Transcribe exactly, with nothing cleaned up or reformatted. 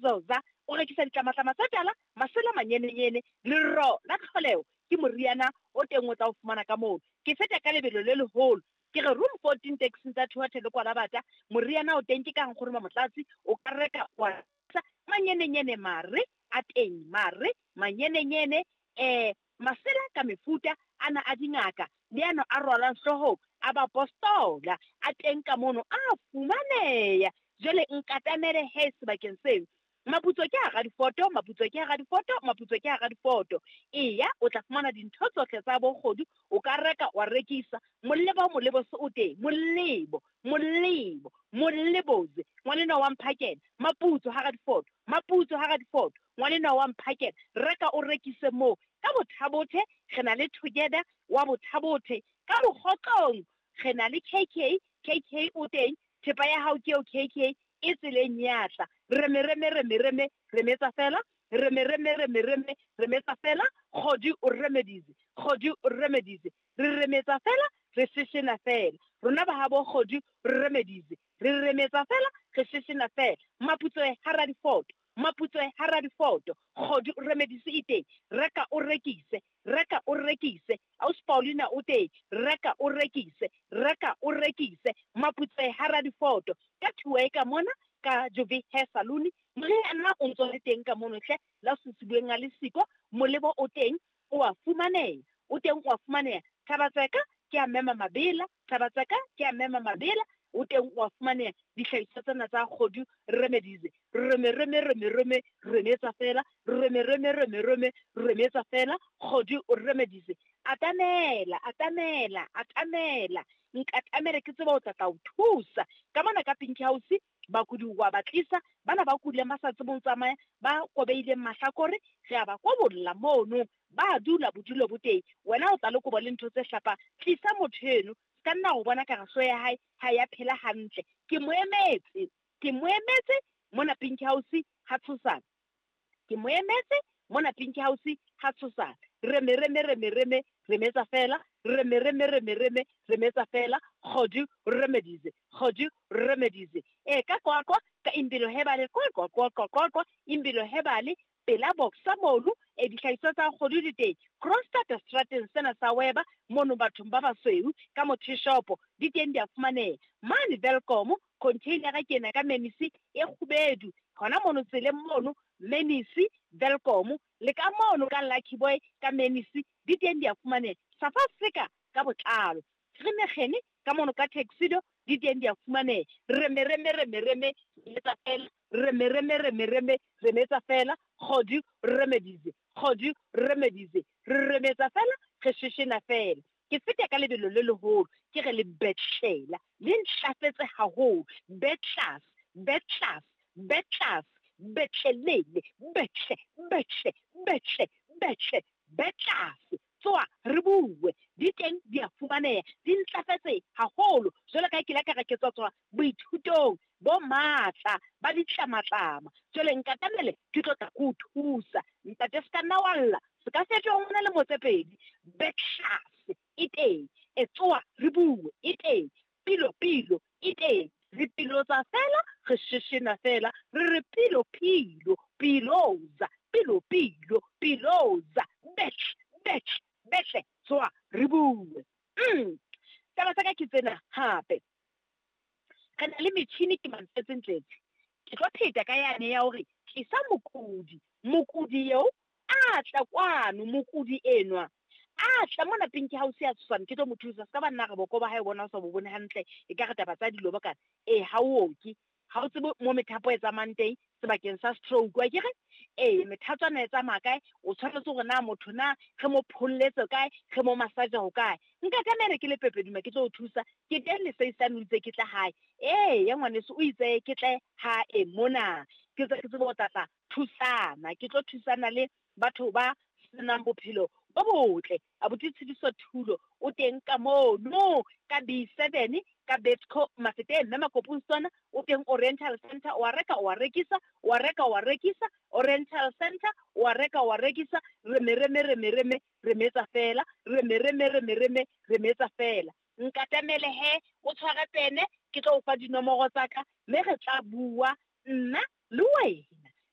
Zoza o rekisa ditlamatlama tsa tala, masela manyenenyene, lero la tlholeho ke moriana o teng o tla o fumana ka moo. Ke feta ka lebelo le leholo. Ke re room fourteen taxing tsa Thuathe le Kwalabata, moriana o teng ke ka nkgono Mamotlatsi, o ka reka wa manyenenyene mare a teng, mare manyenenyene eh masela ka mefuta ana a dingaka le ano a rwalwang hloohong a bapostola a teng ka mono a fumaneha. Jwale nkatamele he sebakeng seo. Maputso ke hara difoto, maputso ke hara difoto, maputso ke hara difoto. Eya, o tla fumana dintho tsohle tsa bokgodu, o ka reka wa rekisa. Molebo molebo se o teng, molebo, molebo, moleboze. Ngwanenwa wa mphakela, maputso hara difoto, maputso hara difoto. Ngwanenwa wa mphakela, reka o rekise moo. Ka Bothabothe re na le Together wa Bothabothe. Ka Mokgotlong re na le K K, K K o teng, thepa ya hao ke eo K K. E tseleng ya tla. Reme, reme, reme, reme, remetsa fela. Reme, reme, reme, reme, remetsa fela. Kgodi o remedize, kgodi o remedize. Re remetsa fela, re sheshena fela. Rona ba habo kgodi re remedize. Re remetsa fela, re sheshena fela. Maputsoe hara difoto, maputsoe hara difoto. Kgodi o remedize e teng. Reka o rekise, reka o rekise. Ausi Paulina o teng. Reka o rekise, reka o rekise. Maputsoe hara difoto. Ka thuwe ka mona ka Jovi Hair Salon, moriana o ntso le teng ka mono hle, la susubueng a le siko, molebo o teng, o a fumaneha, o teng o a fumaneha. Thabatseka ke a mema mabela, Thabatseka ke a mema mabela, o teng o a fumaneha. Dihlahiswa tsena tsa kgodu remedize, reme, reme, reme, reme, remetsa fela, reme, reme, reme, reme, remetsa fela, kgodu o remedize. Atamela, atamela, atamela. Nkatamele ke tseba o tla tla o thusa. Ka mona ka Pink House, bakudi wa ba tlisa, bana ba kudileng ba sa tsebeng ho tsamaya, ba kobeileng mahlakore, re a ba kobolla mono, ba dula bodulo bo teng. Wena o tla le kobo le ntho tse hlapang, tlisa motho eno, se ka nna o bona ka re hlooho ya hae ha ya phela hantle. Ke mo emetse, ke mo emetse mona Pink House ha tshosana. Ke mo emetse mona Pink House ha tshosana. Reme, reme, reme, reme, remetsa fela. Reme, reme, reme, reme, remetsa fela. Kgodi remedize, kgodi remedize. E ka kwakwa ka Impilo Hebale, kwa kwa kwa kwa kwa kwa Impilo Hebale pela boxa mono, e dihlahiswa tsa kgodi di teng. Kroonstad strateng sena sa Weba mono bathong ba basweu ka motho shopo di teng di a fumaneha. Mane Welkom container ke ena ka menisi e kgubedu hona mono tseleng mono menisi Welkom le ka mono ka Lucky Boy ka menisi di teng di a fumaneha. South Africa ka botlalo re mekgene ka mono ka Tuxedo di teng di a fumaneha. Reme, reme, reme, reme, remetsa fela. Reme, reme, reme, reme, remetsa fela. Kgodi remedize, kgodi remedize. Re remetsa fela, re sheshena fela. Ke feta ka lebelo le leholo, ke re le betlela, le ntlafetse haholo. Betlas, betlas, betlas, betlelele, betle, betle, betle, betle, betlas. Tsoa re bue, di teng di a fumaneha, di ntlafetse haholo. Jwalo ka ha ke ile ka re ke tswa tswa boithutong bo matla ba ditlamatlama. Jwale nkatamele ke tlo tla ko o thusa. Ntate se ka nna wa lla, se ka fetoha ngwana le motsepedi. Betlas e teng, e tsoa re bue e teng, pilo pilo e teng. Re pilotsa fela, re sheshena fela, re re pilo pilo, piloza, pilo pilo, piloza, betle, betle, betle, tsoa re bue. Mm. Taba tsa ka ke tsena hape. Re na le metjhini ke Mantsetse Ntletse. Ke tlo pheta ka yane ya hore tlisa mokudi, mokudi eo a tla kwano, mokudi enwa a tla mona Pink House ya Tshwane, ke tlo mo thusa. Se ka ba nna re boko ba hae bona o sa bo bone hantle, e ka re taba tsa dilo ba kana. Eh, ha o oke, ha o tsebe mo methapo e tsamayang teng sebakeng sa stroke, wa kere? Eh, methatswana e tsamaya kae? O tshwanetse hore na motho na re mo pholletse kae, re mo massage ho kae? Nka tlamehile ke le Pepeduma ke tlo o thusa. Ke teng le seisane o itse ke tla hae. Eh, ya ngwaneso o itse ke tle hae mona. Ke tse ke tsebe ho tla thusana, ke tlo thusana le batho ba senang bophelo bo botle. Abuti Tshidiso Thulo o teng ka mono ka B seven ka Betco Mafeteng, mme Makopong o teng Oriental Center, o a reka o a rekisa, o a reka o a rekisa, Oriental Center o a reka o a rekisa. Reme, reme, reme, reme, remetsa fela, reme, reme, reme, reme, remetsa fela. Nkatamele he, o tshware pene, ke tlo o fa dinomoro tsa ka, mme re tla bua nna le wena.